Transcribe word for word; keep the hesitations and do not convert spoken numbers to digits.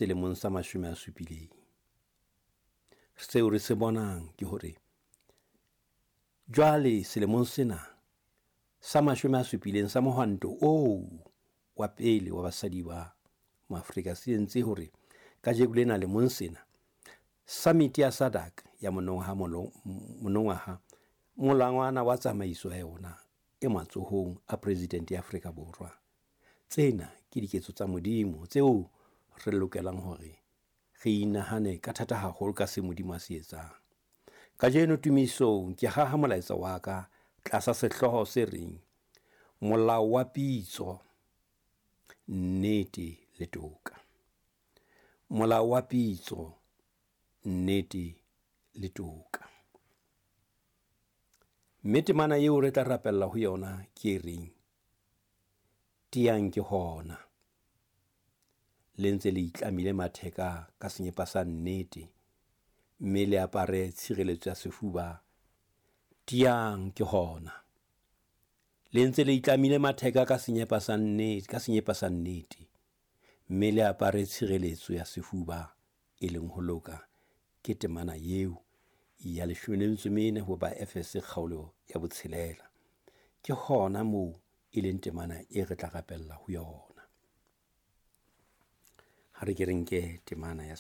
Selemong sa mashome a supileng. Seo re se bonang ke hore jwale selemong sena sa mashome a supileng sa mohwanto oo wa pele wa basadi ba Maafrika se entse hore kajeno lena lemong sena summit ya SADC ya monongwaha, molangwana wa tsamaiso ya yona e matsohong a President ya Afrika Borwa. Tsena ke diketso tsa Modimo tseo re lokelang hore re inahane ka thata haholo ka se Modimo a se etsang. Kajeno tumisong ke haha molaetsa wa ka tlasa sehlooho se reng Molao wa Pitso, Nnete le Toka. Molao wa Pitso, Nnete le Toka. Mme temana eo re tla rapella ho yona ke e reng, tiyang ke hona, le ntse le itlamile matheka ka senyepa sa nnete, mme le apare tshireletso ya sefuba. Tiyang ke hona, le ntse le itlamile matheka ka senyepa sa nnete, ka senyepa sa nnete, mme le apare tshireletso ya sefuba e leng ho loka. Ke temana eo ya leshome le metso e mene ho Baefese kgaolo ya botshelela. Ke hona moo e leng temana e re tla rapella ho yona. Ha re ke re nke temana ya